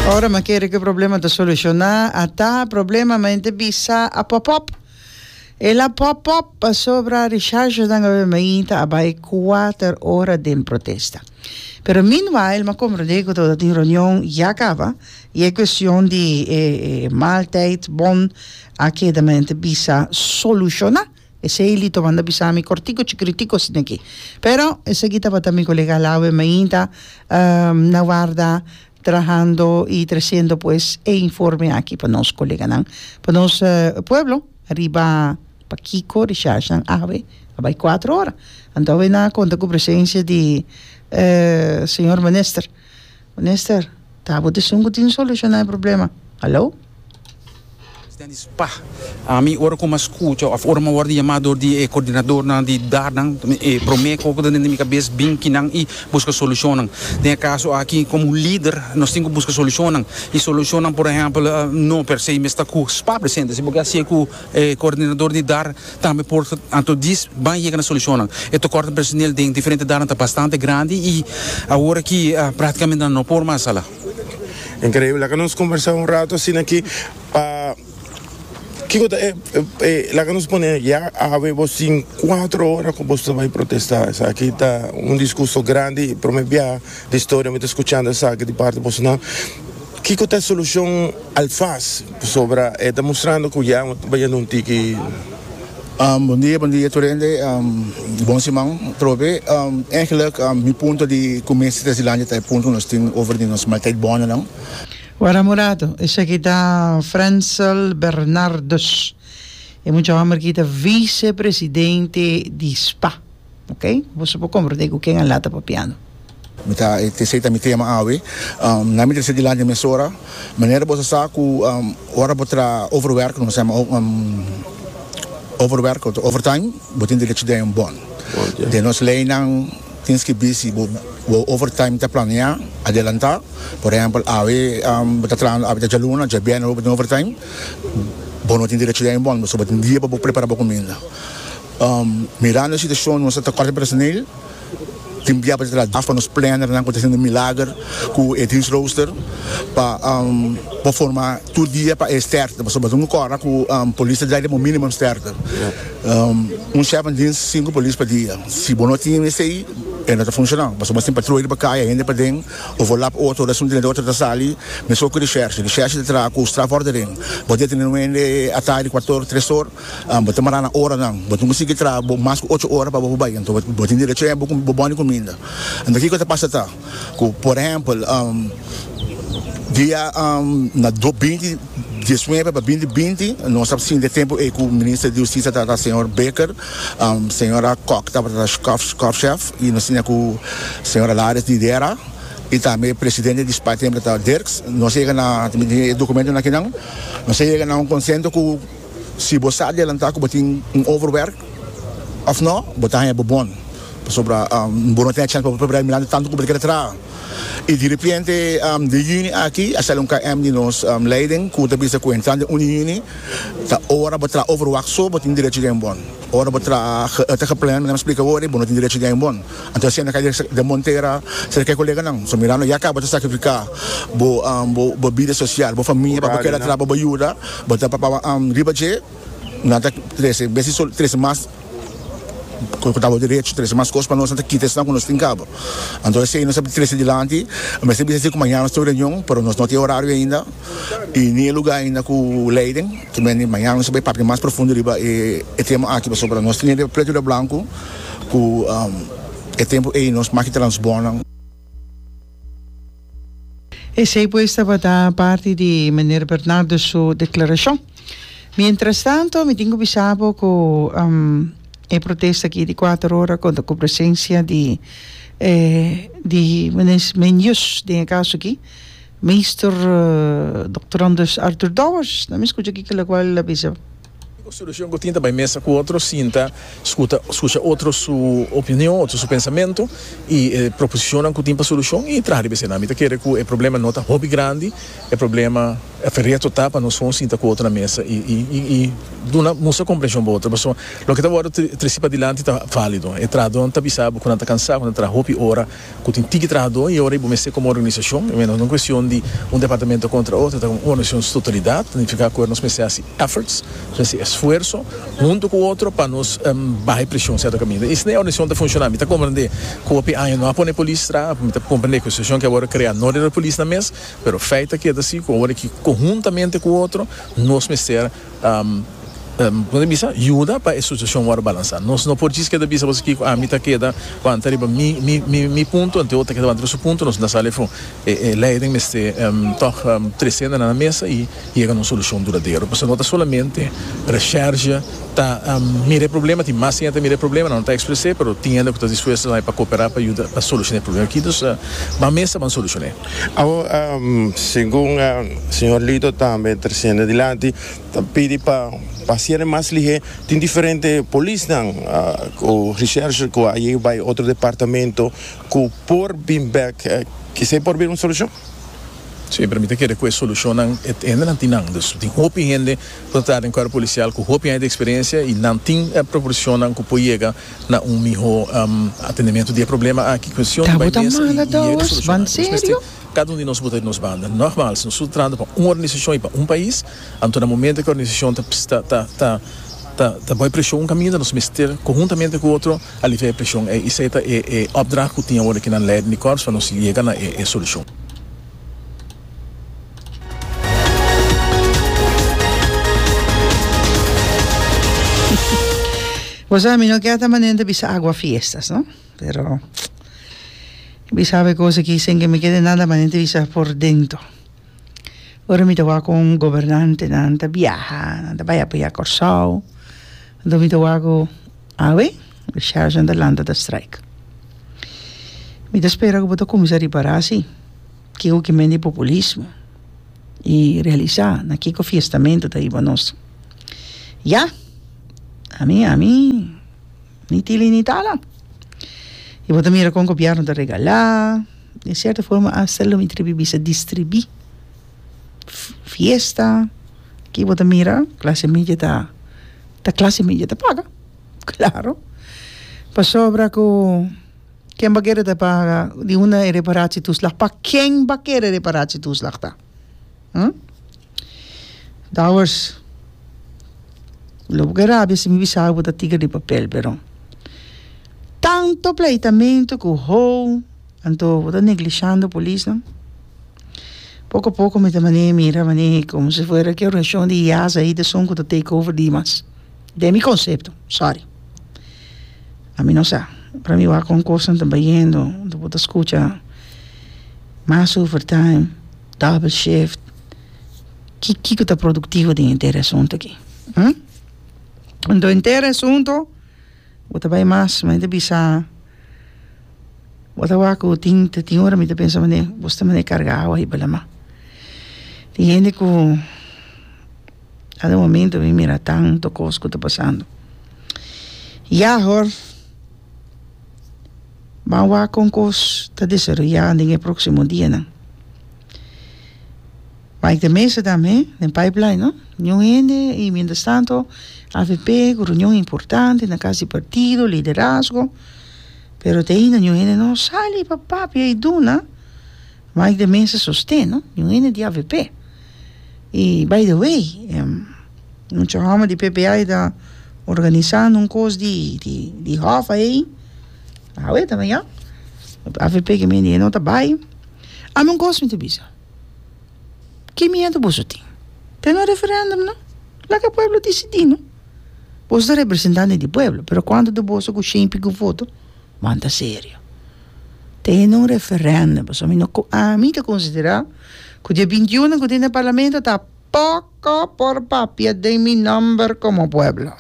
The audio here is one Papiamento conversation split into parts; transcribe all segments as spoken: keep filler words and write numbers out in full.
Ora mi a kere ku e problema ta solushoná, ata problema mente bisa a pop up. El a pop up pasobra Richardsnan awe mainta a bai kuater ora den protesta. Pero meanwhile, m'a komprondé ku tabatin reunion ya kaba i e kuestion di e, e maaltijdbon a keda mente bisa solushoná. Esei Lito manda bisa mi kortiku chikiritiku asina aki. Pero esaki tabata mi kolega Lawe mainta um, na warda trahando i tresiendo pues e informe aki pa nos koleganan, pa nos uh, pueblo, riba pakiko Richardson awe a bai kuater ora. Anto nan a konta ku presensia di uh, señor minister. Minister, ta bo esun ku tin solushoná e problema. Hallo? Presidente SPA. Ami ora ku m'a skucha òf ora m'a wòrdu yamá dor di eh, koordinadornan di D A R nan, eh, promé ku den mi kabes bin kinan i buska solushon. Den e kaso aki komo lider nos tin ku buska solushon. I solushon, por ehèmpel, eh, no per se mester ku SPA presente, si pasobra asina ku eh, koordinador di D A R tambe por anto dis ban yega na solushon. E tekort personeel den diferente D A R ta bastante grandi i awor aki uh, práktikamente no por mas sala. Inkreibel. Laga nos kombersá un ratu asina aki pa kiko ta, eh, eh, laga nos pone ya awe bo tin kuater ora ku bo bai protestá. Esaki ta un diskurso grandi, promé bia di historia mi ta skuchando esaki di parti boso. Kiko ta e solushon alfas sobre eh, ta mustrando ku ya bai un tiki? Um, bon dia, bon dia tur hende. Um, bon siman, trobe. Um, eigenlijk, um, mi punto di kuminsá Brasilandia ta e punto nos tin over di nos maaltijdbonnen nan. Wara Murato, esaki ta Frensel Bernardus. E mucha hòmber aki ta visepresidente di SPA. Ok? Bo por komprondé ku ken nan ta papiando. Mi ta esei ta mi tema awe. Um, na mi trese dilanti mesora, manera bo sa ku um, ora bo traha overwerk, nos yama um, overwerk of overtime, bo tin derecho di un bon. Den nos leinan tin skibí si bo bo overtime ta planeá, adelantá. Por ehèmpel, awe um, bo ta trahando awe ta djaluna, djabièrnè bo tin overtime, bo no tin derecho di un bon, bo tin dia pa prepará bo kuminda. Um, mirando e situashon, nos ta kort personeel, tin bia pa traha pa nos planner nan ku ta hasiendo milager ku e dienstrooster pa um, pa forma tur dia pa e sterkte, pasobra bo kòrda ku um, polis ta drai un minimum sterkte, um, un chef van dienst, sinku polis pa dia. Si bo no tin esei, e no ta funshoná, pasobra tin patruya pa kaya, hende paden, overlap otro, un tin otro ta sali. Mesun ku recherche, recherche ta traha ku strafvordering. Bo detené un hende atardi kuater, tres or, um, bo ta mará na oranan, bo no konsiguí traha mas ku ocho ora pa bo bai, anto bo tin derecho bo bo bon kuminda. Anto kiko ta pasa ta ku, por ehèmpel, um, dia um, na do binti diesnuebe pa binti binti, nos a sinta e tempu ei ku minister di Hustisia tabata señor Baker, um, señora Kock tabata korpschef i nos tabatin ku señora Lares di D R A i tambe presidente di SPA tempu ta Dirks. Nos a yega na dokumento akinan, nos a yega na un konsenso ku si bo adelantá ku tin un overwerk òf no, bo ta haña bo bon. Pasobra um, bo no tin chèns pa prepará mirando tantu ku bo ke traha. I di repente, um, di yüni aki, a sali un K M di nos um, leiding, ku ta bisa ku entrando un yüni, ta ora bo traha overwacht so, bo tin derecho di un bon. Ora bo traha ta gepland, mi splika awor, bo no tin derecho di un bon. Anto asina kai de montera, serka koleganan. So mirando ya kaba ta sakrifiká bo um, bo, bo bida sosial, bo famia, pa bo keda traha, bo yuda, bo ta pa um, riba dje, nan ta trese, besi trese mas ku tabata derecho, trese mas kos pa nos, ta kita esnan ku nos tin kaba. Anto esei nos a trese dilanti, mas sempre ku mañan nos tin reunion, pero nos no tin orario ainda i ni lugá ainda ku leiding. Tambe mañan nos ta bai papia mas profundo riba e, e tema aki, pasobra nos tin pretu riba blanku ku um, e tempu ei nos mag transbonan. Esei pues tabata parti di meneer Bernardo su deklarashon. Mientras tanto, mi tin ku bisa ku um, e protesta aki di kuater ora konta ku presensia di eh, di meneer Menjus, den e kaso aki, meester uh, Doctorandus Arthur Dowers. No mi skucha aki ku el a bisa. Solushon ku tin ta bai mesa ku otro, sinta, skucha, skucha otro su opinion, otro su pensamentu i eh, proposishon ku tin pa solushon i traha. Mi ta kere ku e problema no ta hopi grandi, e problema E reto ta pa nos sinta ku otro na mesa i i i i duna mustra komprenshon pa otro. Pasobra loke ta wòrdu trese padilanti ta válido. E trahadó ta bisa ku nan ta kansá, ku nan ta traha hopi ora, ku tin tiki trahadó i ora bo mester komo organisashon, i no un kuestion di un departamento kontra otro, ta un organisashon totalidat, signifiká ku nos mester hasi efforts, hasi esfuerso huntu ku otro pa nos um, baha preshon sierto kaminda. I asina e organisashon ta funshoná. Mi ta komprondé ku hopi aña no a pone polis traha, mi ta komprondé ku e situashon ku awor a krea no ta polis na mes, pero feit ta keda si, ku awor ku konhuntamente ku otro, nos mester um, um, kon bisa, yuda pa e situashon wòrdu balansá. Nos no por djis keda bisa bo ku ami ta keda wanta riba mi mi mi mi punto, anto otro ta keda wanta su punto, nos no sali afó. E, e leiding mester um, toch um, trese na mesa i yega na un solushon duradero. Pasobra no ta solamente recherche ta um, mira problema, tin mas hende mira problema, no ta ekspresá, pero tin hende ku ta dispuesto pa kooperá pa yuda pa solushoná e problema aki. Anto, uh, ban mesa ban solushoná. Awor, um, segun uh, señor Lito tambe tresiendo adilanti, ta pidi pa pa ser mas lihé, tin diferente polisnan uh, o recherche ku a bai otro departamento ku por bin back, uh, ku por bin un solushon? Si, pa mi ta kere ku e solushon ainda no tin nan. Dus tin hopi hende ku ta den kuerpo polisial ku hopi hende di eksperensia i nan tin e proporshon ku por yega na un mihó um, atendimentu di e problema aki. Kuestion Ta bai bota mesa mala i, i yega dos, solushon. ban Dus mester serio? Kada un di nos bota nos banda. Nogmaals, nos ta trahando pa un organisashon i pa un pais, anto na momento ku e organisashon ta ta ta ta ta ta bou preshon un kaminda, nos mester konhuntamente ku otro aliviá e preshon. I esei ta e e opdracht ku tin awor aki na leiding di korps pa nos yega na e, e solushon. Bo sa, mi no ke ta manera bisa agua fiestas, no? Pero bisa kos aki sin ku mi kede nada manera bisa por dentro. Ora mi ta wak ku gobernantenan ta biaha, nan ta bai apoyá Kòrsou. Anto mi ta wak ku awe, recherche ta lanta ta strike. Mi ta spera ku bo ta kuminsá ripará si, kiko ke men di populismo i realisá na kiko fiestamentu ta hiba nos. Ya, ami, ami, ni tili ni tala. I bo ta mira kon gobièrnu ta regalá, di sierto forma hasta lo mi tribi bisa distribuí fiesta, ku bo ta mira, klase media ta, ta klase media ta paga, klaro. Pasobra ku ken bai kere ta paga di un reparatietoeslag, pa ken bai kere reparatietoeslag ta? Hm? Dowers, lo bo rabia si mi bisa bo ta tiger di papel, pero tantu pleitamentu ku ho, anto bo ta neglishando polis, no? Poko poko mi ta manera mira manera komo si fuera ku organisashon di I A S ei ta esun ku ta take over dimas. Den mi konsepto, sorry. Ami no sa. Pa mi wak kon kos ta bayendo, bo ta skucha mas overtime, double shift. Ki kiko ta produktivo den henter asuntu aki? Hm? Anto henter asuntu, bo ta bai mas, ma ta bisa bo ta wak ku tin tin ora mi ta pensa manera, bo ta manera karga awa riba laman. Tin hende ku kada momento mi mira tantu kos ku ta pasando. Ya hoor. Ban wak kon kos ta desaroyá den e próksimo dianan. Mike de Meza tambe, den pipeline, no? Niun hende i mientras tanto A V P ku reunion importante na kas di partido, liderazgo. Pero te ainda niun hende no sali pa papia i duna Mike de Meza sosten, no? Niun hende di A V P. I by the way, um, mucha hòmber di P P A ta organisando un kos di di di hof ei. Awe tambe ya. A V P ke men no ta bai. Ami un kos mi ta bisa. Ki miedu boso tin? Tene un referendum, no? Laga pueblo disidí, no? Boso ta representante di pueblo, pero kuantu di boso ku shen piku voto? Manda serio. Tene un referendum, pasobra mi no ami ta konsiderá ku dia binti un ku tin den parlamento ta poko por papia den mi nòmber komo pueblo.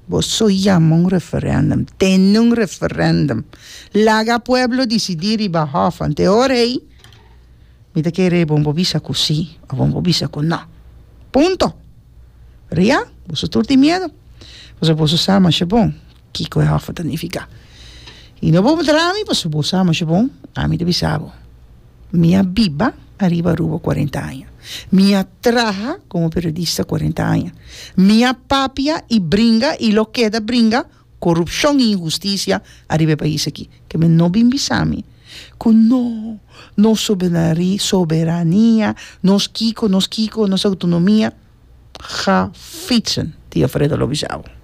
Boso yama un referendum, tene un referendum. Laga pueblo disidí riba hof, anto ora ei, mi ta kere bo por bisa ku si, òf bo por bisa ku no. Punto. Pero ya, boso tur tin miedu. Boso boso sa masha bon, kiko e hof ta nifiká. I no bo puntra mi, pasobra bo sa masha bon, ami ta bisa bo. Mi a biba ariba Aruba cuarenta aña. Mi a traha como periodista cuarenta aña. Mi a papia y bringa y lo keda bringa corupcion y inhusticia ariba e pais aki. Ke men no bin bisa mi cu no, nos soberania, nos kico, nos kico, nos autonomia. Ga fietsen, Tio Fredo lo bisa bo.